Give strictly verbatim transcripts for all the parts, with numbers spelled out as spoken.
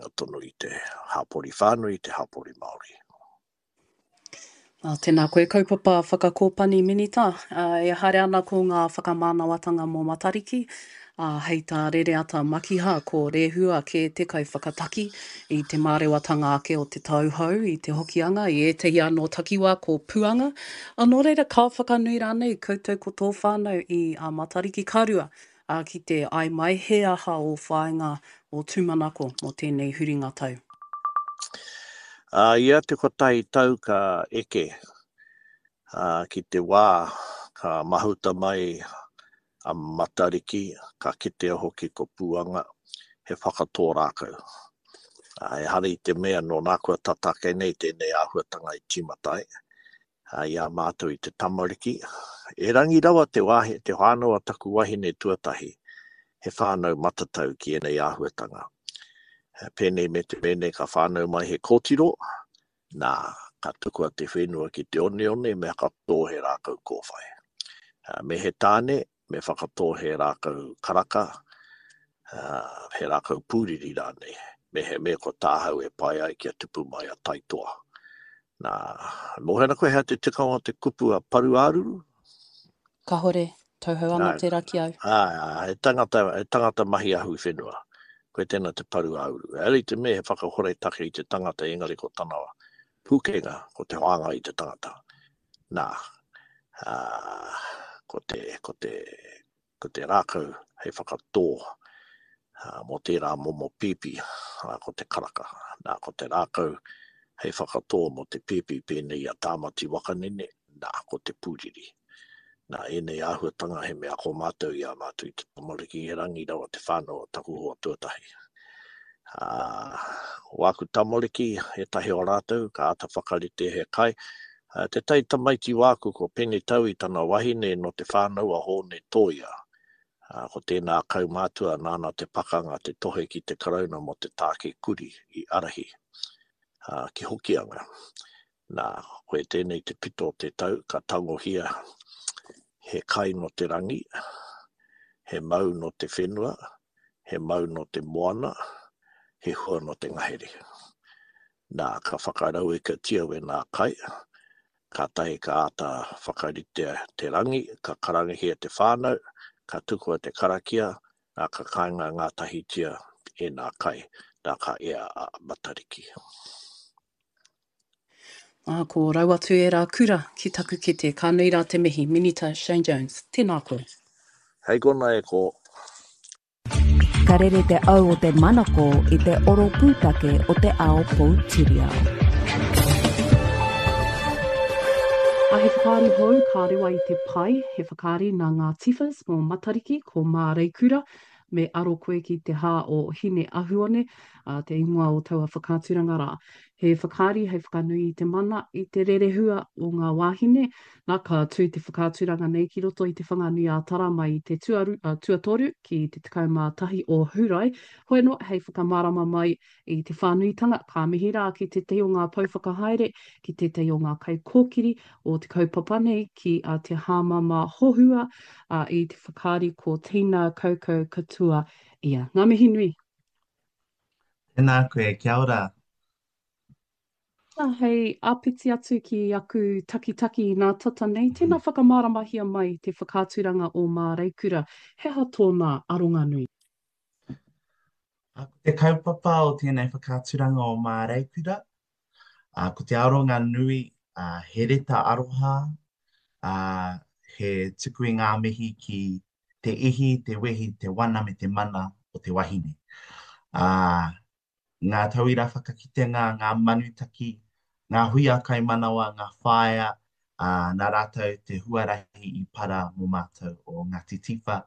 waenga tonu i te hapori whānui, te hapori Māori. Ā, tēnā koe kaupapa whakakōpani Minita, ā, e haere ana ko ngā whakamānawatanga mō Matariki, ā, hei tā Rereata Makiha ko Rehua kē te kaiwhakataki i te mārewatanga ake o te tau hou i te Hokianga, i ētahi anō takiwā ko Puanga. Ā, nō reira ka whakanui rānei koutou ko tō whānau i a Matariki ka rua, ā, ki te ai mai he aha ō whāinga, ō tūmanako mō tēnei huringa tau? Ā, ia te kotahi tau ka eke, ā, ki te wā ka mahuta mai a Matariki, ka kitea hoki ko Puanga, he whakatō rākau. Ā, ehara i te mea nō nā kua tata ake nei tēnei āhuatanga i tīmata ai, ā, i a mātou i te tamariki. Erangi rawa te wāhi, te whānau a taku wahine tuatahi, he whānau matatau ki ēnei āhuatanga. Pēnei me te mēnei ka whānau mai he kōtiro, nā, ka tukua te whenua ki te oneone me whakatō he rākau kōwhai. Me he tāne, me whakatō he rākau karaka, he rākau pūriri rānei, me he mea ko tāhau e pai ai kia tupu mai a Taitoa. Nā, mōhio ana koe hea te tikanga o te kupu a paru-ā-ruru? Kahore, tauhou ana tērā ki au. Āe, āe, he tangata, he tangata mahi ahu whenua. Koe tēnā te paru-ā-uru. Ehara i te mea he whakahore take i te tangata engari ko tana pūkenga, ko te whāngai i te tangata. Nā, ā, ko te, ko te, ko te rākau hei whakatō mō tērā momo pēpi, ā, ko te karaka. Nā, ko te rākau hei whakatō mō te pēpi pēnei i a Tāmati Wakanene, nā, ko te pūriri. Nā, ēnei āhuatanga he mea ako mātou i a mātou i te tamariki, erangi rawa te whānau o taku hoa tuatahi. Ā, wāku tamariki, ētahi o rātou, ka āta whakarite he kai. Ā, te tai tamaiti wāku ko Pene Tau i tana wahine nō te whānau a Hōne Tōia. Ā, ko tēnā kaumātua nāna te pakanga te tohe ki te Karauna mō te tāke kuri i Arahi, ā, ki Hokianga. Nā, koe tēnei te pito o te tau, ka tangohia he kai nō te rangi, he mau nō te whenua, he mau nō te moana, he hua nō te ngahere. Nā, ka whakarauikatia wēnā kai, kātahi ka āta whakaritea te rangi, ka karangahia te whānau, ka tukua te karakia, nā, ka kainga ngātahitia ēnā kai, nā, ka ea a Matariki. Ā, ko rau atu ērā kura ki taku kete. Ka nui rā te mihi, Minita Shane Jones. Tēnā koe. Hei kona e kō. Ka rere te au o te manako i te oro pūtake o te ao poutiriao. A he whakaari hou ka rewa i te pae, he whakaari nā ngā Tifas mō Matariki, ko Māreikura, me aro koe ki te hā o Hine Ahuone, ā, te ingoa o taua whakaaturanga rā. He whakaari hei whakanui i te mana, i te rerehua o ngā wāhine. Nā, ka tū te whakaaturanga nei ki roto i Te Whanganui-ā-Tara mai i te tuaru, ā, tuatoru ki te tekau mā tahi o Hurae. Hoi anō, hei whakamārama mai i te whānuitanga, ka mihi rā ki tētahi o ngā pou whakahaere, ki tētahi o ngā kaikōkiri o te kaupapa nei, ki a Te Hāmama Hohua, ā, i te whakaari ko Tina Kaukau Katua ia. Ngā mihi nui! Tēnā koe, kia ora. Nā, hei āpiti atu ki aku takitaki inā tata nei, tēnā whakamāramahia mai te whakaaturanga o Māreikura, he aha tōna aronga nui? Ko te kaupapa o tēnei whakaaturanga o Māreikura, ko te aronga nui, he reta aroha, he tuku i ngā mihi ki te ihi, te wehi, te wana me te mana o te wahine. Ā, ngā tauira whakakitenga, ngā manutaki, ngā huia kaimanawa, ngā whāea, ā, nā rātou te huarahi i para mō mātou o Ngāti Tiwha.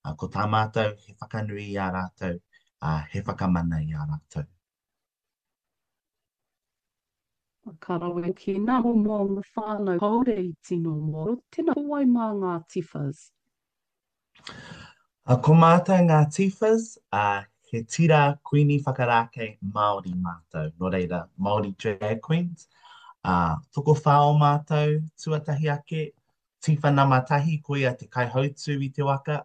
Ā, ko tā mātou he whakanui i a rātou, ā, he whakamana i a rātou. Ka rawe hoki nā momo o ngā whānau kāore i tino mōhio, tēnā ko wai mā ngā Tifas? Ko mātou ngā Tifas, he tira kuini whakarākei Māori mātou, nō reira, Māori drag queens. Tokowhā o mātou, tuatahi ake, Tiwha nama tahi, koia te kaihautū i te waka,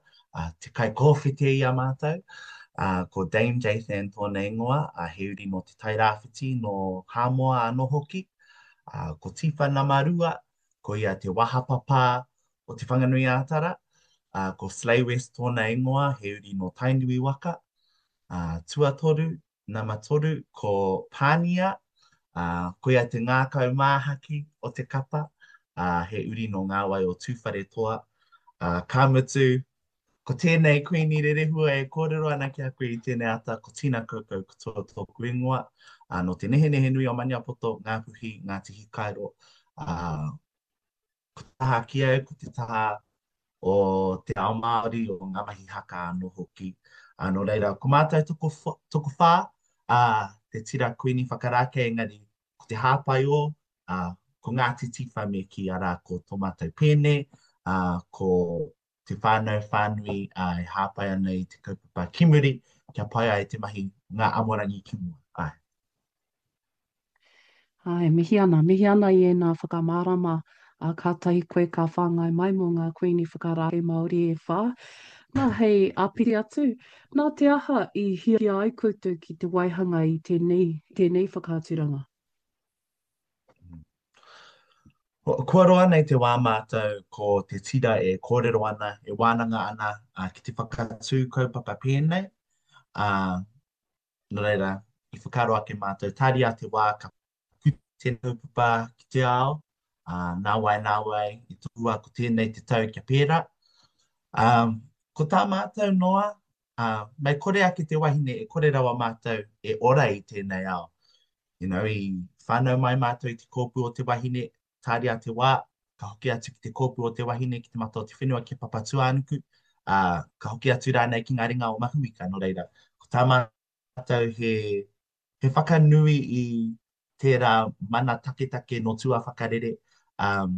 te kaikōwhete i a mātou. Ā, ko Dame Jathan tōna ingoa, ā, he uri nō Te Tairāwhiti, nō Hāmoa anō hoki. Ā, ko Tiwha nama rua, ko ia te wahapapa o Te Whanganui-ā-Tara. Ā, ko Slay West tōna ingoa, he uri nō Tainui waka. Ā, tuatoru, nama toru, ko Pānia, ā, ko ia te ngākau māhaki o te kapa, ā, he uri nō ngā wai o Tūwharetoa. Ā, ka mutu, Ko tēnei Kuini Rerehua e kōrero ana ki a koe i tēnei ata, ko Tina Kaukau Katoa tōku ingoa, ā, nō te Nehenehenui o Maniapoto, Ngāpuhi, Ngāti Hikairo, ā, ko te taha ki au, ko te taha o te ao Māori, o ngā mahi haka anō hoki. Ā, nō reira, ko mātou toko, tokowhā, ā, te tira Kuini Whakarākei, engari ko te hāpai o, ā, ko Ngāti Tiwha me kī, arā, ko tō mātou pēne, ā, ko te whānau whānui e hāpai ana i te kaupapa ki muri, kia pai ai te mahi ngā amorangi ki mua. Āe. Āe, mihi ana, mihi ana i ēnā whakamārama, ā, kātahi koe ka whāngai mai mō ngā Kuini Whakarākei Māori e whā. Nā, hei āpiti atu, nā te aha i hiahia ai koutou ki te waihanga i tēnei, tēnei whakaaturanga? Kua roa nei te wā mātou ko te tira e kōrero ana, e wānanga ana ki te whakatū kaupapa pēnei, ā, nō reira, i whakaaro ake mātou, tāria te wā ka puta tēnei kaupapa ki te ao, ā, nāwai, nāwai, i tohua ko tēnei te tau kia pērā. Ā, ko tā mātou noa, ā, mei kore ake te wahine e kore rawa mātou e ora i tēnei ao. You know, i whānau mai mātou i te kōpū o te wahine, tāria te wā, ka hoki atu ki te kōpū o te wahine, ki te mata o te whenua, ki a Papatūānuku, ā, ka hoki atu rānei ki ngā ringa o Mahuika. Nō reira, ko tā mātou he, he whakanui i tērā mana taketake nō tua whakarere, um,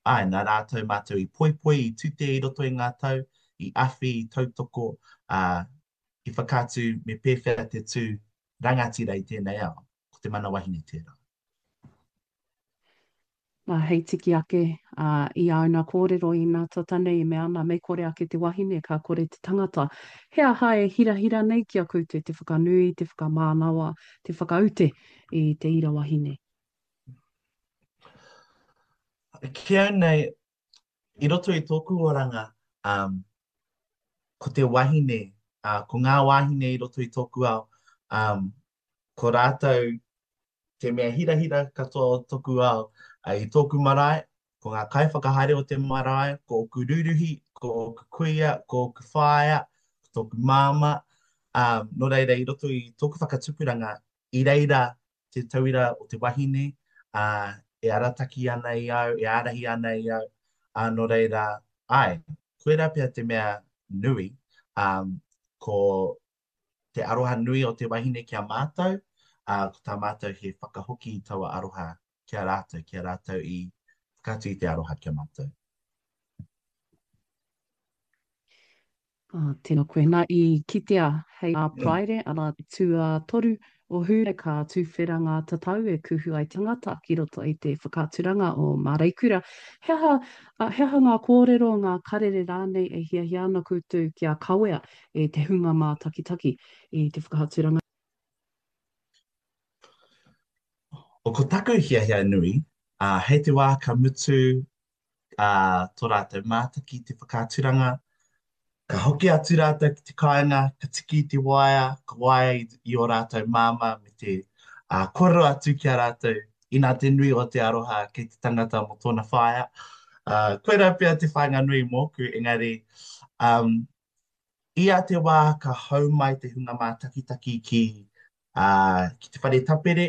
āe, nā rātou mātou i poipoi, i tute i roto i ngā tau, i awhi, i tautoko, ā, i whakaatu me pēwhea te tū rangatira i tēnei ao, ko te mana wahine tērā. Nā, hei tiki ake ā, i āuna kōrero inā tata nei e mea ana mei kore ake te wahine ka kore te tangata. He aha e hirahira nei ki a koutou te whakanui, te whakamānawa, te whakaute i te ira wahine? Ki au nei, i roto i tōku oranga, um, ko te wahine, uh, ko ngā wāhine i roto i tōku ao, um, ko rātou te mea hirahira katoa o tōku ao. Uh, i tōku marae, ko ngā kaiwhakahaere o te marae, ko ōku ruruhi, ko ōku kuia, ko ōku whaea, ko tōku māmā. Um, nō reira, i roto i tōku whakatupuranga, i reira te tauira o te wahine, ā, e arataki ana i au, e ārahi ana i au, ā, nō reira, āe, koirā pea te mea nui, ā, ko te aroha nui o te wahine ki a mātou, ā, ko tā mātou he whakahoki i taua aroha ki a rātou, ki a rātou i whakaatu i te aroha ki a mātou. Ā, tēnā koe. Nā, i kitea hei ā Paraire, arā, te tuatoru o Hūne, ka tuwhera ngā tatau e kuhu ai tangata ki roto i te whakaaturanga o Māreikura. He aha, he aha ngā kōrero, ngā karere rānei e hiahia ana koutou kia kawea e te hunga mātakitaki i te whakaaturanga? Ko taku hiahia nui, ā, hei te wā ka mutu ā, tō rātou mātaki i te whakaaturanga, ka hoki atu rātou ki te kāinga, ka tiki i te waea, ka waea i, i ō rātou māmā me te ā, kōrero atu ki a rātou, inā te nui o te aroha kei te tangata mō tōna whaea. Ā, koirā pea te whāinga nui mōku, engari, um, ia te wā ka hau mai te hunga mātakitaki ki, ā, ki te whare tapere,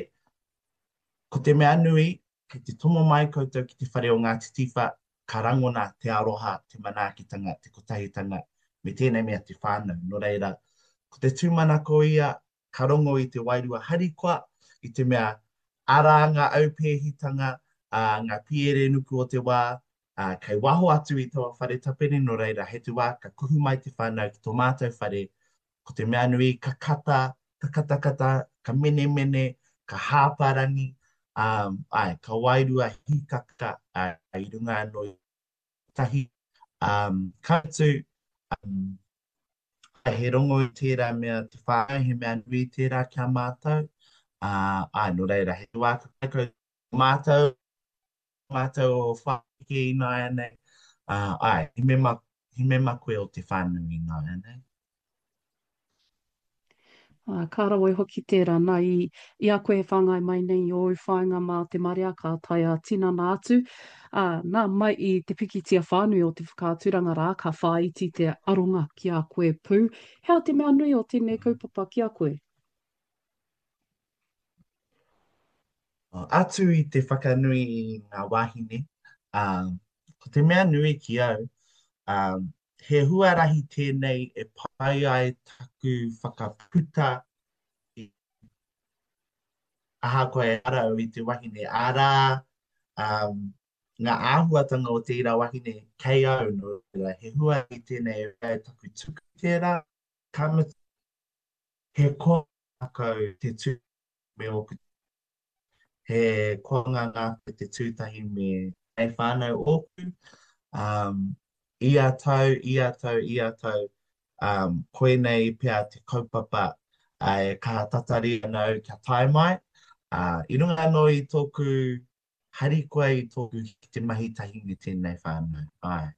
ko te mea nui, Kei te tomo mai koutou ki te whare o Ngāti Tiwha, ka rangona te aroha, te manaakitanga, te kotahitanga, me tēnei mea te whānau. Nō reira, ko te tūmanako ia, ka rongo i te wairua harikoa, i te mea arā ngā aupēhitanga, ā, ngā pīere nuku o te wā, ā, kei waho atu i taua whare tapere, nō reira, hei te wā ka kuhu mai te whānau ki tō mātou whare, Ko te mea nui, ka kata, ka katakata, ka menemene, ka hāparangi, ā, āe, ka wairua hīkaka, ā, i runga anō i tahi, ā, ka mutu, ā, He rongo i tērā mea te whānau, he mea nui tērā ki a mātou. Ā, āe, nō reira, he wā ka pai koutou mātou, mātou o Whākeke ināianei. Ā, āe, he mema, he mema koe o te whānau ināianei. Ā, ka rawe hoki tērā, nā, i, i a koe e whāngai mai nei i ōu whāinga mā te marea ka tae ā-tinana atu, ā, nā, mai i te pikitia whānui o te whakaaturanga rā, ka whāiti te aronga ki a koe pū. He aha te mea nui o tēnei kaupapa ki a koe? Atu i te whakanui i ngā wāhine, ā, ko te mea nui ki au, ā, he huarahi tēnei e pai ai taku whakaputa i ahakoa ehara au i te wahine, arā, um, ngā āhuatanga o te ira wahine kei au, nō reira, he huarahi tēnei e pai ai taku tuku tērā, ka mutu, he koa ngākau te tū me ōku He koanga ngākau te tū tahi me tēnei whānau ōku. Um, ia tau, ia tau, ia tau, um, koinei pea te kaupapa uh, e kaha tatari ana au kia tae mai. Uh, I runga anō i tōku harikoa i tōku ki te mahi tahi me tēnei whānau. Āe.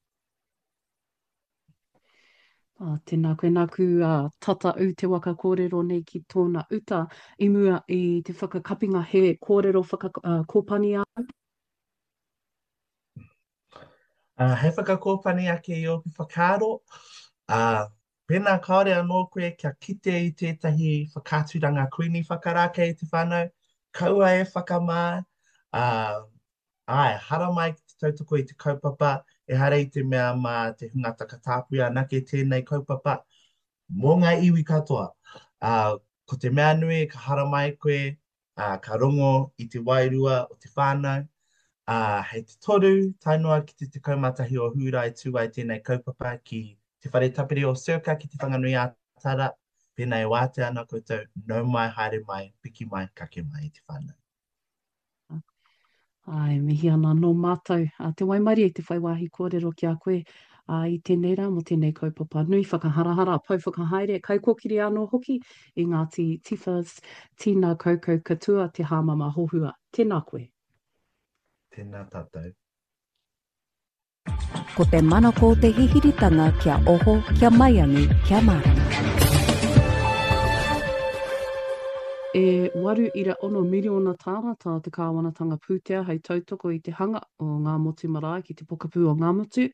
Ā, tēnā koe, nāku ā, tata ū te waka kōrero nei ki tōna uta i mua i te whakakapinga he kōrero whaka, ā, kōpani āu. Ā, hei whakakōpani ake i ōku whakaaro, ā, pēnā kāore anō koe kia kite i tētahi whakaaturanga Kuini Whakarākei i te whānau, kaua e whakamā, ā, Āe, haramai ki te tautoko i te kaupapa, ehara i te mea mā te hunga takatāpui anake tēnei kaupapa, mō ngā iwi katoa. Ā, ko te mea nui ka haramai koe, ā, ka rongo i te wairua o te whānau, ā, hei te toru tae noa ki te tekau mā tahi o Hūrae tū ai tēnei kaupapa ki Te Whare Tapere o Circa ki Te Whanganui-ā-Tara, pēnā e wātea ana koutou, nau mai, haere mai, piki mai, kake mai i te whānau. Āe, mihi ana anō mātou a Te Waimarie te whai wāhi kōrero ki a koe ā, i tēnei rā mō tēnei kaupapa nui whakaharahara, pou whakahaere, kaikōkiri anō hoki i Ngāti Tiwhas, Tīna Kaukau Katua, Te Hāmama Hohua. Tēnā koe. Tēnā tātou. Ko te manako te hihiritanga kia oho, kia maiangi, kia mārama. E waru ira ono miriona tāra tā te kāwanatanga pūtea hei tautoko i te hanga o Ngāmotu Marae ki te pokapū o Ngāmotu.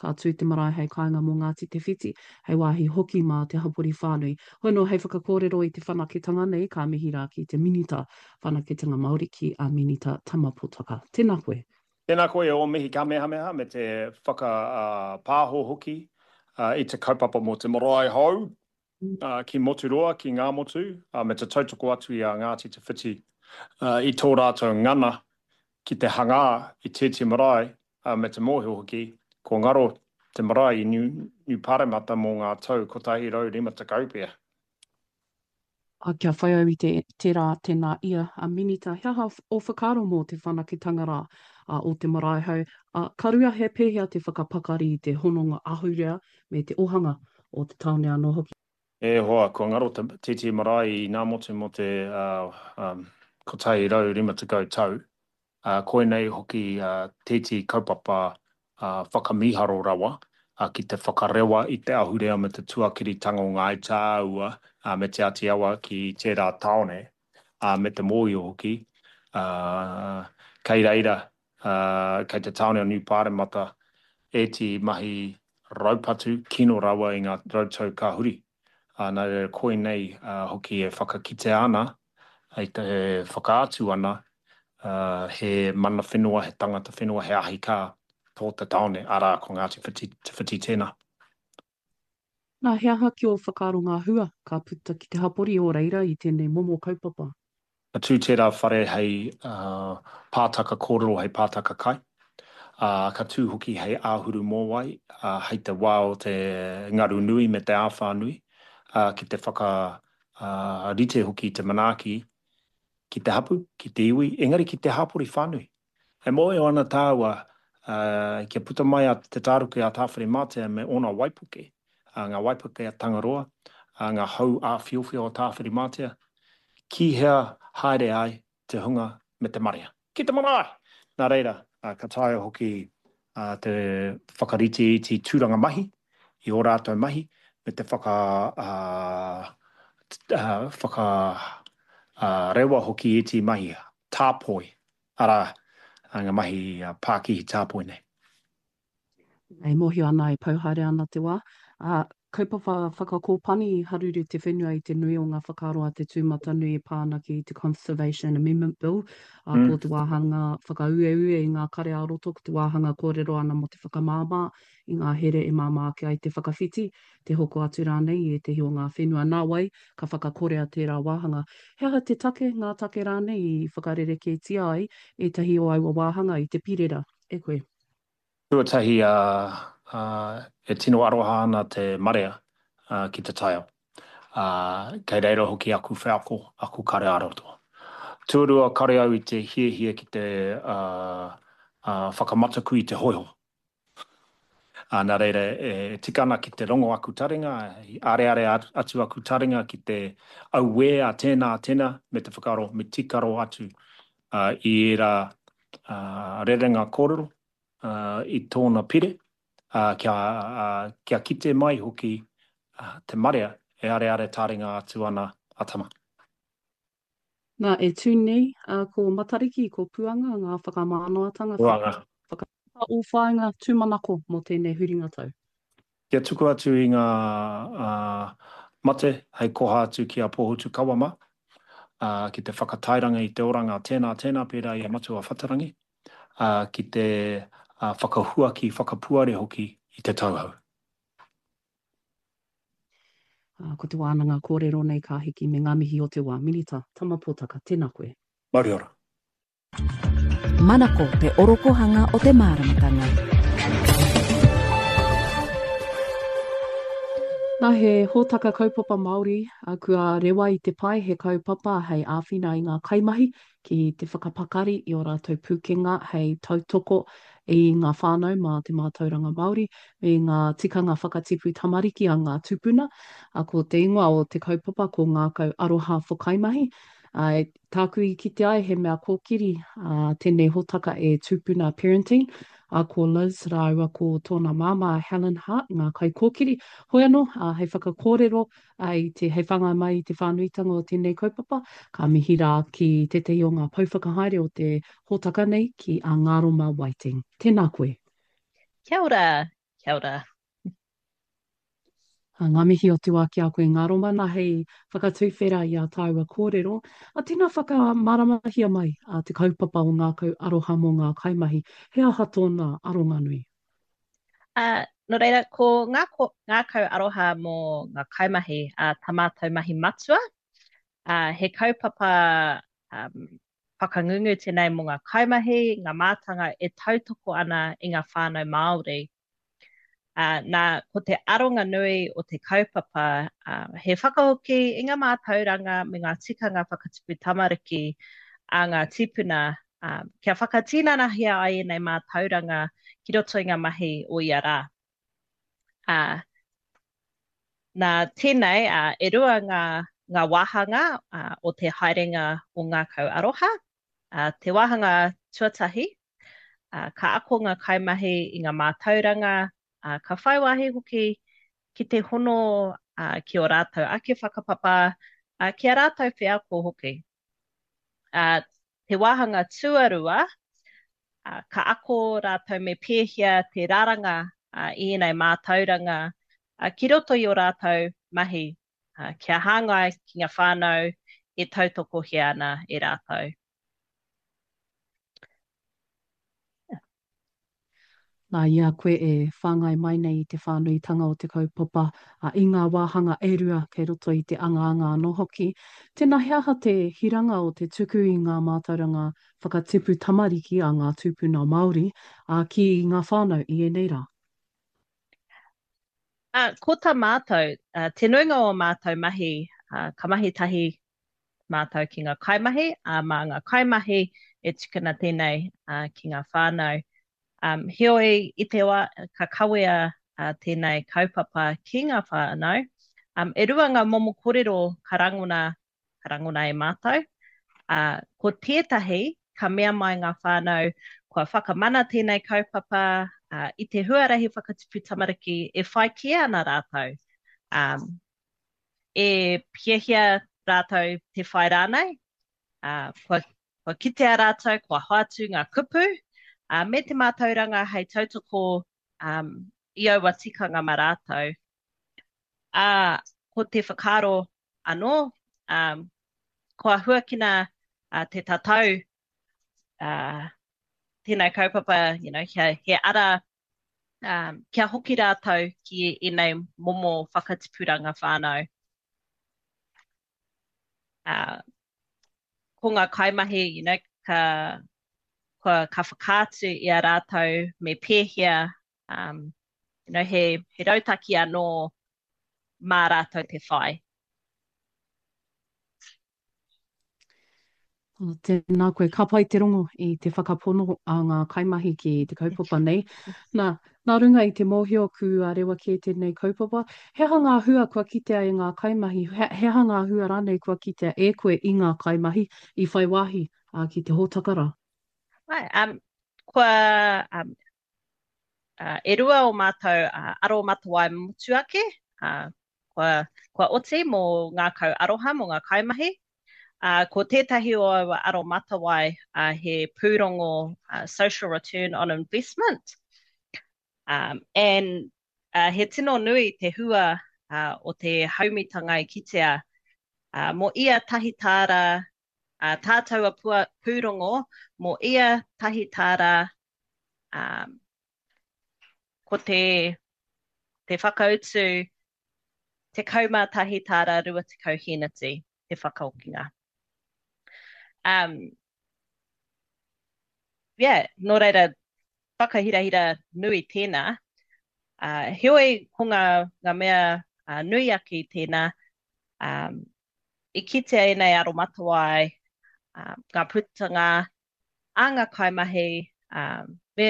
Ka tū te marae hei kāinga mō Ngāti Te Whiti, hei wāhi hoki mā te hapori whānui. Hoi anō, hei whakakōrero i te whanaketanga nei, ka mihi rā ki te Minita Whanaketanga Māori, ki a Minita Tama Potaka. Tēnā koe. Tēnā koe e ō mihi kamehameha me te whakapāho hoki i te kaupapa mō te marae hou ki Moturoa, ki Ngāmotu, me te tautoko atu i a Ngāti Te Whiti i tō rātou ngana ki te hangā i tēti marae me te mōhio hoki kua ngaro te marae i Niu Paremata mō ngā tau kotahi rau rima tekau pea. Ā, kia whai au i te, tērā, tēnā ia, a Minita, he aha ō whakaaro mō te whanaketanga rā, ā, o te marae hou, ā, ka rua he pēhea te whakapakari i te hononga ahurea me te ohanga o te tāone anō hoki? E hoa, kua ngaro te tītī marae i Ngāmotu mō te kotahi rau rima tekau tau, Ā, koinei hoki tētehi kaupapa whakamīharo rawa ki te whakarewa i te ahurea me te tuakiritanga o Ngāi Tāua me Te Āti Awa ki tērā tāone, ā, me te mōhio hoki, ā, kei reira, kei te tāone o Niu Pāremata ētehi mahi raupatu kino rawa i ngā rautau ka huri. Ā, nā reira koinei hoki e whakakitea ana, e whakaatu ana he mana whenua, he tangata whenua, he ahi kā tō te tāone, arā, ko Ngāti Whiti, Te Whiti tēnā. Nā, he aha ki ō whakaaro ngā hua ka puta ki te hapori o reira i tēnei momo kaupapa? Ka tū tērā whare hei pātaka kōrero, hei pātaka kai, ā, ka tū hoki hei āhuru mōwai, ā, hei te wā o te ngaru nui me te āwhā nui, ā, ki te whakarite hoki i te manaaki ki te hapu, ki te iwi, engari ki te hapori whānui. E mōhio ana tāua, ā, kia puta mai a Te Tāruke a Tāwhirimātea me ōna waipuke, ngā waipuke a Tangaroa, ngā hau āwhiowhio o Tāwhirimātea, ki hea haere ai te hunga me te marea? Ki te marae! Nā reira, ka taea hoki te whakariteiti tūranga mahi i ō rātou mahi me te whaka, whakarewa hoki ētehi mahi tāpoi, arā, ngā mahi pākihi tāpoi nei. E mōhio ana, e pau haere ana te wā. Ā, kaupapa whakakōpani i haruru te whenua i te nui o ngā whakaaro a te tūmatanui e pā ana ki te Conservation Amendment Bill, ā, ko te wāhanga whakaueue i ngā kare ā-roto, ko te wāhanga kōrero ana mō te whakamāmā i ngā here e māmā ake ai te whakawhiti, te hoko atu rānei i ētehi o ngā whenua. Nāwai, ka whakakorea tērā wāhanga. He aha te take, ngā take rānei i whakarerekētia ai ētahi o aua wāhanga i te pire rā e koe? Tuatahi, e tino aroha ana te marea ki te taiao. Kei reira hoki aku wheako, aku kare ā-roto. Tuarua, kare au i te hiahia ki te whakamataku i te hōiho. Nā reira, e tika ana ki te rongo aku taringa, i areare atu aku taringa ki te auē a tēnā, a tēnā, me te whakaaro me tīkaro atu i ērā rerenga kōrero i tōna pire, kia kite mai hoki te marea e areare taringa atu ana a Tama. Nā, e tū nei ko Matariki, ko Puanga ngā whakamānawatanga Puanga. Whakapapa ō whāinga tūmanako mō tēnei huringa tau. Kia tuku atu i ngā mate hei koha atu ki a Pōhutukawa mā, ki te whakatairanga i te oranga tēnā, tēnā pērā i a Matua Whatarangi, ki te whakahuaki, whakapuare hoki i te tauhou. Ko te wānanga kōrero nei ka hiki me ngā mihi o te wā. Minita Tama Potaka, tēnā koe. Mauri ora. Manako te orokohanga o te māramatanga. Nā, he hōtaka kaupapa Māori kua rewa i te pae, he kaupapa hei āwhina i ngā kaimahi ki te whakapakari i ō rātou pūkenga hei tautoko i ngā whānau mā te mātauranga Māori me ngā tikanga whakatipu tamariki a ngā tūpuna. Ko te ingoa o te kaupapa ko Ngākau Aroha for Kaimahi. Ā, tāku i kite ai he mea kōkiri tēnei hōtaka e Tūpuna Parenting, ā, ko Liz rāua ko tōna māmā Helen Hart ngā kaikōkiri. Hoi anō, hei whakakōrero i te, hei whāngai mai i te whānuitanga o tēnei kaupapa, ka mihi rā ki tētahi o ngā pou whakahaere o te hōtaka nei, ki a Ngaroma Whiting. Tēnā koe. Kia ora, kia ora. Ngā mihi o te wā ki a koe Ngaroma, nā hei whakatuwhera i ā tāua kōrero. A tēnā whakamāramahia mai a te kaupapa o Ngākau Aroha mō ngā kaimahi, he aha tōna aronga nui? Ā, nō reira, ko ngā ngākau aroha mō ngā kaimahi a tā mātou mahi matua, ā, he kaupapa um, whakangungu tēnei mō ngā kaimahi, ngā mātanga e tautoko ana i ngā whānau Māori. Ā, nā, ko te aronga nui o te kaupapa, ā, he whakahoki i ngā mātauranga me ngā tikanga whakatipu tamariki a ngā tīpuna, ā, kia whakatinanahia ai ēnei mātauranga ki roto i ngā mahi o ia rā. Ā, nā tēnei, ā, e rua ngā, ngā wāhanga ā, o te haerenga o Ngākau Aroha. Ā, te wāhanga tuatahi, ā, ka ako ngā kaimahi i ngā mātauranga, ā, ka whai wāhi hoki ki te hono ā, ki ō rātou ake whakapapa, ā, ki ā rātou wheako hoki. Ā, te wāhanga tuarua, ā, ka ako rātou me pēhea te raranga ā, i ēnei mātauranga ā, ki roto i ō rātou mahi, ā, kia hāngai ki ngā whānau e tautokohia ana e rātou. Nā, i a koe e whāngai mai nei i te whānuitanga o te kaupapa, ā, i ngā wāhanga e rua kei roto i te angaanga anō hoki, tēnā he aha te hiranga o te tuku i ngā mātauranga whakatipu tamariki a ngā tūpuna Māori, ā, ki ngā whānau i ēnei rā? Ā, ko tā mātou, ā, te nuinga o ā mātou mahi, ā, ka mahi tahi mātou ki ngā kaimahi, ā, mā ngā kaimahi e tukuna tēnei ā, ki ngā whānau. Um, heoi, i te wā, ka kawea uh, tēnei kaupapa ki ngā whānau, um, e rua ngā momo kōrero ka rangona, ka rangona e mātou. Uh, ko tētahi, ka mea mai ngā whānau, kua whakamana tēnei kaupapa uh, i te huarahi whakatipu tamariki e whai kē ana rātou. Um, e hiahia rātou te whai rānei, uh, kua, kua kitea rātou, kua hoatu ngā kupu, uh, me te mātauranga hei tautoko um, i aua tikanga mā rātou. Uh, ko te whakaaro anō, um, kua huakina uh, te tatau uh, tēnei kaupapa, you know, he, he ara um, kia hoki rātou ki ēnei momo whakatipuranga whānau. Uh, ko ngā kaimahi, you know, ka, ka, ka whakaatu i a rātou me pēhea, um, you know, he, he rautaki anō mā rātou te whai. Oh, tēnā koe, ka pai te rongo i te whakapono a ngā kaimahi ki te kaupapa nei. Nā, nā runga i te mōhio kua rewa kē tēnei kaupapa, he aha ngā hua kua kitea e ngā kaimahi, he, he aha ngā hua rānei kua kitea e koe i ngā kaimahi i whai wāhi uh, ki te hōtaka rā? Ai, um, kua, um, uh, e rua o mātou uh, aromatawai motuake, uh, kua, kua oti mō ngākau aroha, mō ngā kaimahi. Uh, ko tētahi o aua aromatawai uh, he pūrongo uh, social return on investment. Um, and uh, he tino nui te hua uh, o te haumitanga i kitea. Uh, mō ia tahi tāra, uh, tā taua pua, pūrongo, mō ia tahi tāra, um, ko te, te whakautu tekau mā tahi tāra rua tekau hēneti te whakaokinga. Um, yeah, nō reira, whakahirahira nui tēnā. Uh, heoi, ko ngā, ngā mea uh, nui ake i tēnā, um, i kitea ēnei aromatawai, uh, ngā putanga, a ngā kaimahi, um, me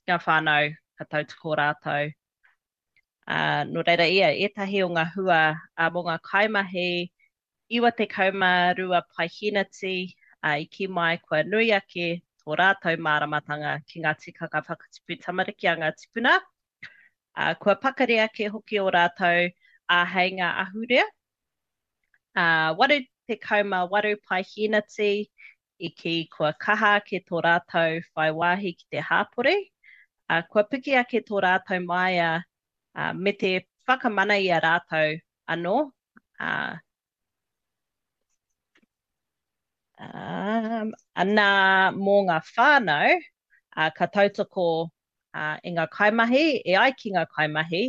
ngā whānau ka tautoko rātou. Uh, nō reira ia, ētahi o ngā hua uh, mō ngā kaimahi, iwa tekau mā rua paeheneti, uh, i kī mai kua nui ake tō rātou māramatanga ki ngā tikanga whakatipu tamariki a ngā tipuna. Uh, kua pakari ake hoki o rātou āheinga ahurea. Uh, waru tekau mā waru paeheneti i kī kua kaha ake tō rātou whai wāhi ki te hāpori. Uh, kua piki ake tō rātou maia uh, me te whakamana i a rātou anō. Uh, Um, nā mō ngā whānau, uh, ka tautoko uh, i ngā kaimahi, e ai ki ngā kaimahi,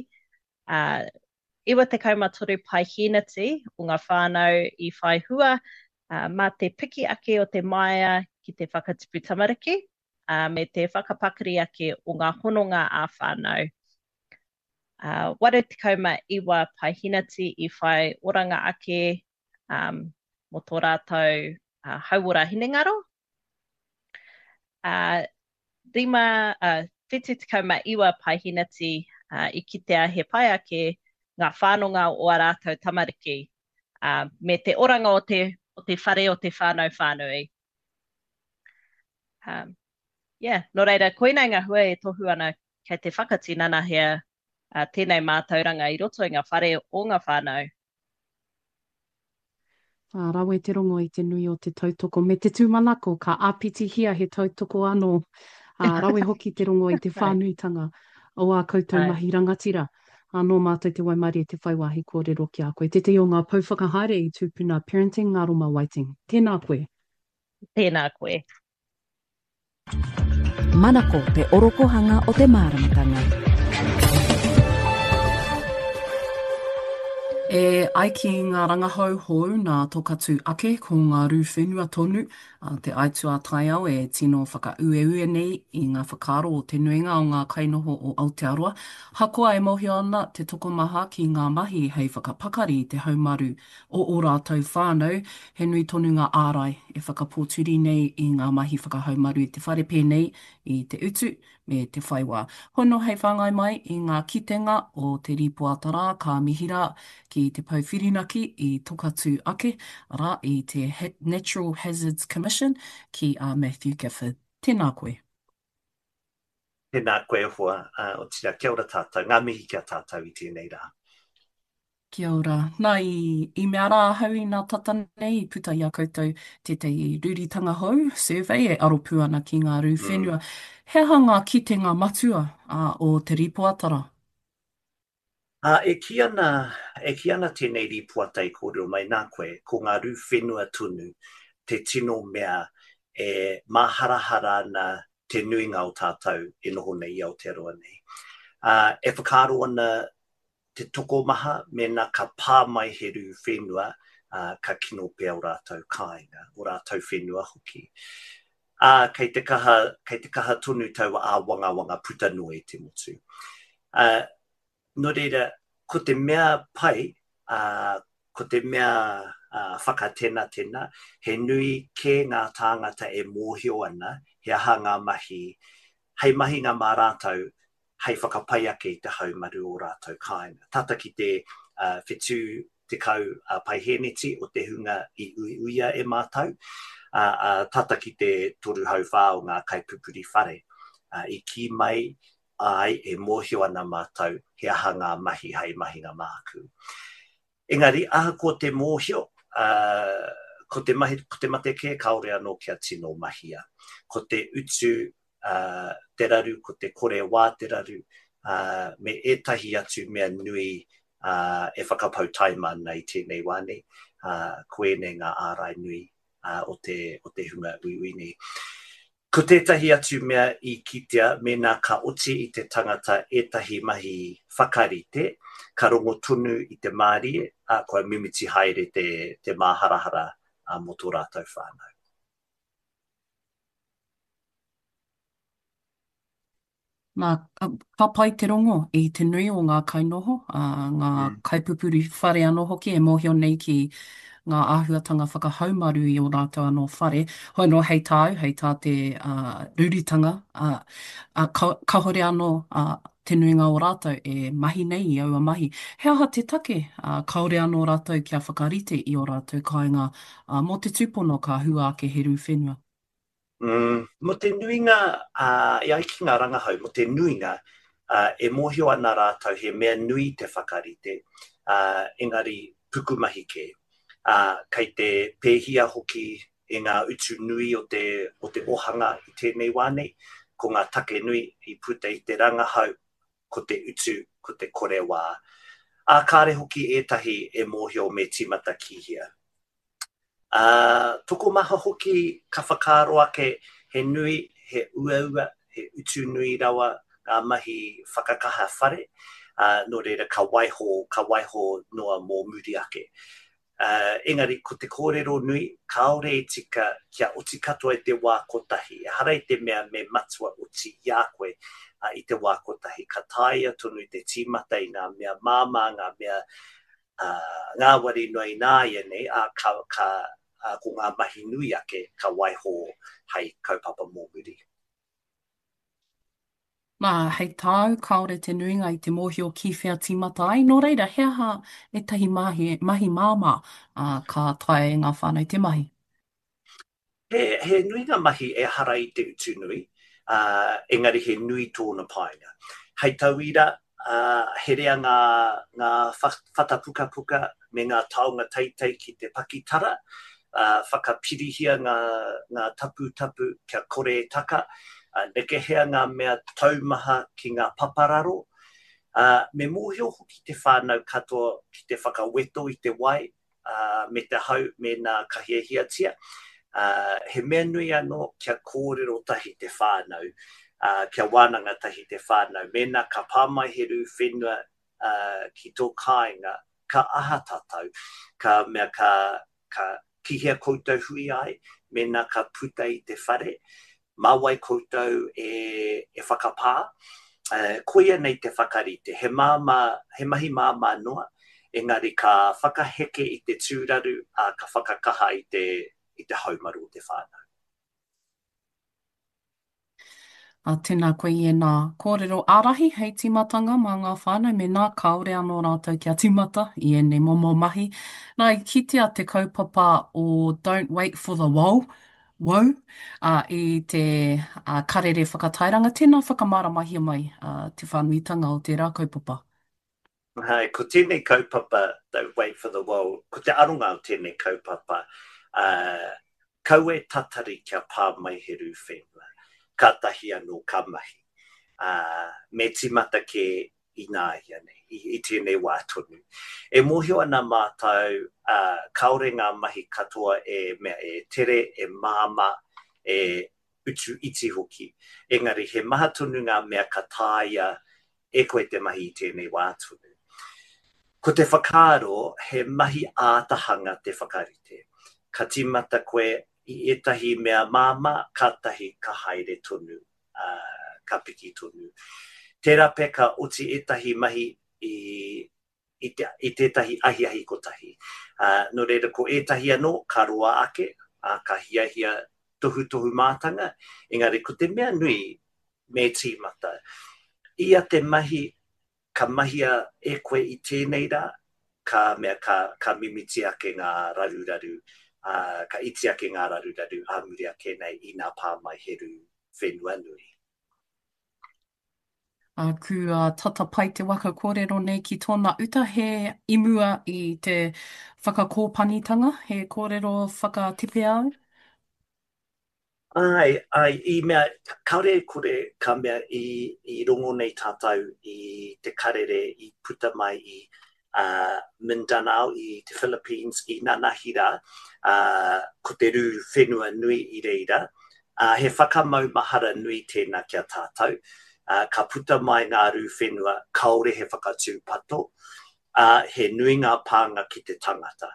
uh, iwa tekau mā toru paeheneti o ngā whānau i whai hua uh, mā te piki ake o te maia ki te whakatipu tamariki, uh, me te whakapakari ake o ngā hononga ā-whānau. Uh, waru tekau mā iwa paeheneti i whai oranga ake um, mō tō rātou Uh, hauora hinengaro. Uh, rima, uh, whitu tekau mā iwa paeheneti uh, i kitea he pai ake ngā whānonga o a rātou tamariki, uh, me te oranga o te, o te whare o te whānau whānui. Um, yeah, nō reira, koinei ngā hua e tohu ana kei te whakatinanahia uh, tēnei mātauranga i roto i ngā whare o ngā whānau. Ā, rawe te rongo i te nui o te tautoko me te tūmanako ka āpitihia he tautoko anō. Ā, rawe hoki te rongo i te whānuitanga o ā koutou mahi rangatira. Anō mātou te waimarie te whai wāhi kōrero ki a koe. Tētahi o ngā pou whakahaere i Tūpuna Parenting Ngaroma Whiting. Tēnā koe. Tēnā koe. Manako te orokohanga o te māramatanga. E ai ki ngā rangahau hou nā Tokatū ake, ko ngā rū whenua tonu a te aituā taiao e tino whakaueue nei i ngā whakaaro o te nuinga o ngā kainoho o Aotearoa. Hakoa e mōhio ana te tokomaha ki ngā mahi hei whakapakari i te haumaru o ō rātou whānau, he nui tonu ngā ārai e whakapōturi nei i ngā mahi whakahaumaru i te whare pēnei i te utu me te whai wā. Hono hei whāngai mai i ngā kitenga o te rīpoata rā ka mihi rā ki te pou whirinaki i Tokatū ake, arā, i te Natural Hazards Commission ki a Matthew Gifford. Tēnā koe. Tēnā koe e hoa, otirā kia ora tātou, ngā mihi ki a tātou i tēnei rā. Kia ora. Nā, i, i mea rā ahau i nā tata nei i puta i a koutou tētahi ruritanga hou, survey, e aro pū ana ki ngā rū whenua. He aha ngā kitenga matua, ā, o te rīpoata rā? Ā, e kī ana, e kī ana tēnei rīpoata i kōrero mai nā koe, ko ngā rū whenua tonu te tino mea e māharahara ana te nuinga o tātou e noho nei i Aotearoa nei. Ā, e whakaaro ana te tokomaha mēnā ka pā mai he rū whenua, ā, ka kino pea ō rātou kāinga, ō rātou whenua hoki. Ā, kei te kaha, kei te kaha tonu taua āwangawanga puta noa i te motu. Ā, nō reira, ko te mea pai, ā, ko te mea whakatenatena, he nui kē ngā tāngata e mōhio ana he aha ngā mahi hei mahinga mā rātou hei whakapai ake i te haumaru o rātou kāinga. Tata ki te whitu tekau paihēneti o te hunga i uiuia e mātou, ā, tata ki te toru hauwhā o ngā kaipupuri whare i kī mai āe e mōhio ana mātou he aha ngā mahi hei mahinga māku. Engari, ahakoa te mōhio, ā, ko te mahi, ko te mate kē kāore anō kia tino mahia. Ko te utu, ā, te raru, ko te kore wā te raru, ā, me ētahi atu mea nui, ā, e whakapau taima ana i tēnei wā nei, ā, ko ēnei ngā ārai nui, ā, o te, o te hunga uiui nei. Ko tētahi atu mea i kitea, mēnā ka oti i te tangata ētahi mahi whakarite, ka rongo tonu i te mārie, ā, kua mimiti haere te, te māharahara mō tō rātou whānau. Nā, ka pai te rongo i te nui o ngā kainoho, ā, ngā kaipupuri whare anō hoki e mōhio nei ki ngā āhuatanga whakahaumaru i ō rātou anō whare. Hoi anō, hei tāu, hei tā te ruritanga, ā, ā, ka, kāhore anō, ā, te nuinga o rātou e mahi nei i aua mahi. He aha te take, ā, kāore anō rātou kia whakarite i ō rātou kāinga, ā, mō te tūpono ka hua ake he rū whenua? Mō te nuinga, e ai ki ngā rangahau, mō te nuinga, e mōhio ana rātou he mea nui te whakarite, engari pukumahi kē. Kei te pēhia hoki e ngā utu nui o te, o te ohanga i tēnei wā nei, ko ngā take nui i puta i te rangahau, ko te utu, ko te kore wā. Ā, kāre hoki ētahi e mōhio me tīmata ki hea. Ā, tokomaha hoki ka whakaaro ake he nui, he uaua, he utu nui rawa ngā mahi whakakaha whare, ā, nō reira ka waiho, ka waiho noa mō muri ake. Ā, engari ko te kōrero nui, kāore e tika kia oti katoa i te wā kotahi. Ehara i te mea me matua oti i a koe i te wā kotahi. Ka taea tonu te tīmata i ngā mea māmā, ngā mea ā, ngāwari noa ināianei, ā, ka, ka, ā, ko ngā mahi nui ake ka waiho hei kaupapa mō muri. Nā, hei tāu, kāore te nuinga i te mōhio ki whea tīmata ai, nō reira, he aha ētahi mahi, mahi māmā, ā, ka taea e ngā whānau te mahi? He, he nui ngā mahi ehara i te utu nui, ā, engari he nui tōna painga. Hei tauira, ā, herea ngā, ngā whata pukapuka me ngā taonga teitei ki te pakitara, ā, whakapirihia ngā, ngā taputapu kia kore e taka, ā, nekehea ngā mea taumaha ki ngā papararo, ā, me mōhio hoki te whānau katoa ki te whakaweto i te wai, ā, me te hau mēnā ka hiahiatia. Ā, he mea nui anō kia kōrero tahi te whānau, ā, kia wānanga tahi te whānau. Mēnā ka pā mai he rū whenua, ā, ki tō kāinga, ka aha tātou? Ka mea ka, ka ki hea koutou hui ai, mēnā ka puta i te whare, mā wai koutou e, e whakapā? Uh, koia nei te whakarite, he māmā, he mahi māmā noa, engari ka whakaheke i te tūraru, ā, ka whakakaha i te, i te haumaru o te whānau. Ā, tēnā koe i ēnā kōrero ārahi hei tīmatanga mā ngā whānau mēnā kāore anō rātou kia tīmata i ēnei momo mahi. Nā, i kitea te kaupapa o Don't Wait for the Woe, Woe, ā, i te ā, karere whakatairanga. Tēnā whakamāramahia mai ā, te whānuitanga o tērā kaupapa. Hai, ko tēnei kaupapa, Don't Wait for the Woe, ko te aronga o tēnei kaupapa, uh, kaua e tatari kia pā mai he rū whenua, kātahi anō ka mahi. Uh, me tīmata kē ināianei, i, i tēnei wā tonu. E mōhio ana mātou, uh, kāore ngā mahi katoa e mea e tere, e māmā, e utu iti hoki. Engari he maha tonu ngā mea ka taea e koe te mahi i tēnei wā tonu. Ko te whakaaro, he mahi ātahanga te whakarite. Ka tīmata koe i ētahi mea māmā, kātahi ka haere tonu, ā, ka piki tonu. Tērā pea ka oti ētahi mahi i, i, te, i tētahi ahiahi kotahi. Ā, nō reira ko ētahi anō ka roa ake, ā, ka hiahia tohutohu mātanga, engari ko te mea nui me tīmata. Ia te mahi ka mahia e koe i tēnei rā, ka mea ka, ka mimiti ake ngā raruraru, ā, ka iti ake ngā raruraru ā muri ake nei inā pā mai he rū whenua nui. Ā, kua tata pai te waka kōrero nei ki tōna uta he i mua i te whakakōpanitanga, he kōrero whakatepe āu? Āe, āe, i mea, kāore e kore ka mea i, i rongo nei tātou i te karere i puta mai i uh, Mindanao, i te Philippines, i nanahi rā, uh, ko te rū whenua nui i reira. Uh, he whakamaumahara nui tēnā ki a tātou. Uh, ka puta mai ngā rū whenua, kāore he whakatūpato, uh, he nui ngā pānga ki te tangata.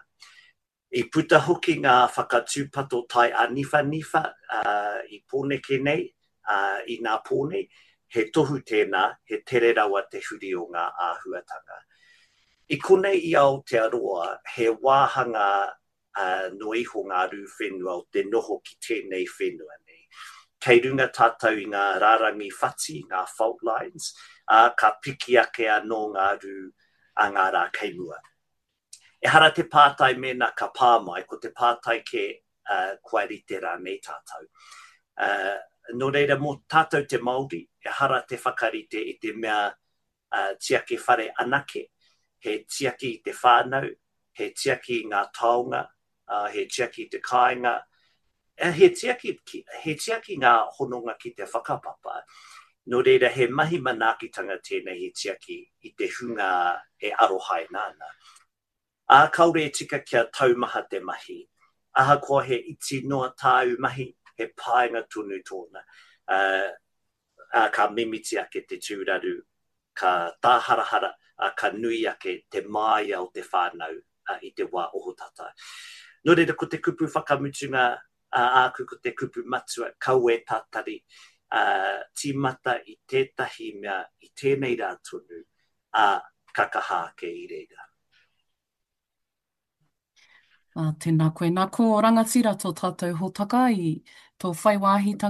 I puta hoki ngā whakatūpato tai āniwhaniwha i Pōneke nei, i nā pō nei, he tohu tēnā, he tere rawa te huri o ngā āhuatanga. I konei i Aotearoa, he wāhanga noa iho ngā rū whenua o te noho ki tēnei whenua nei. Kei runga tātou i ngā rārangi whati, ngā fault lines, ā, ka piki ake anō ngā rū a ngā rā kei mua. Ehara te pātai mēnā ka pā mai, ko te pātai kē kua rite rānei tātou. Nō reira, mō tātou te Māori, ehara te whakarite i te mea tiaki whare anake, he tiaki i te whānau, he tiaki i ngā taonga, he tiaki i te kāinga, he tiaki, he tiaki ngā hononga ki te whakapapa. Nō reira, he mahi manaakitanga tēnei he tiaki i te hunga e arohaina ana. Ā, kāore e tika kia taumaha te mahi. Ahakoa he iti noa tāu mahi, he painga tonu tōna. Ā, ā, ka mimiti ake te tūraru, ka tāharahara, ā, ka nui ake te māia o te whānau i te wā ohotata. Nō reira, ko te kupu whakamutunga āku, ko te kupu matua, kaua e tatari, ā, tīmata i tētahi mea i tēnei rā tonu, ā, ka kaha ake i reira. Ā, tēnā koe. Nā, ko Rangatira tō tātou hōtaka i tō whai wāhitanga